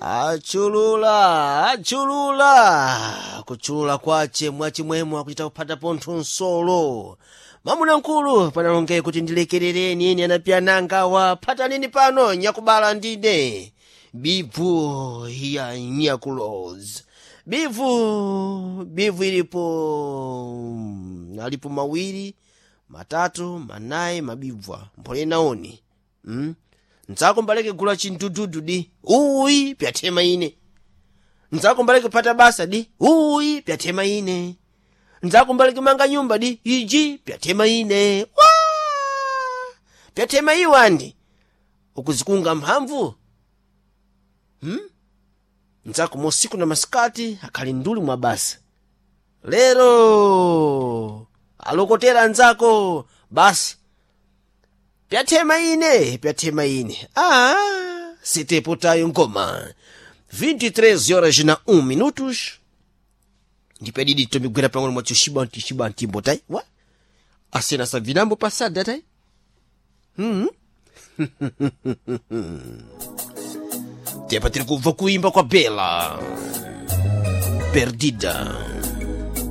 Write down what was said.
Achulula, achulula, kuchulula kwace mwachimwemwe akuchita kuphata pontho nsolo. Mwamuna mkulu panalonge kuti ndilekerereni ine anapyananga phatanini pano nyakubala ndine bivu ya nyakuloz bivu bivu ilipo alipo mawiri, matatu, manayi mabibwa mphole naoni Nzako mbaleke gula chindududu di uyi pyathema ine. Nzako mbaleke phata basa di uyi pyathema ine. Nzako mbaleke manga nyumba di iji pyathema ine. Wa pyathema iwandi ukuzikunga mphamvu. Nzako mosiku na masikati akhali nduli mwa basa. Lero alokotera nzako basi pyathema ine, pyathema ine. Sitepotayo ngoma 23 horas na 1 minutos. Ndipedidi tomigwera pang'ono mwacho shibanti shibanti mbotai wa asena savinambo pasada tai. Tepa tiri kubva kuimba kwa Bela Perdida.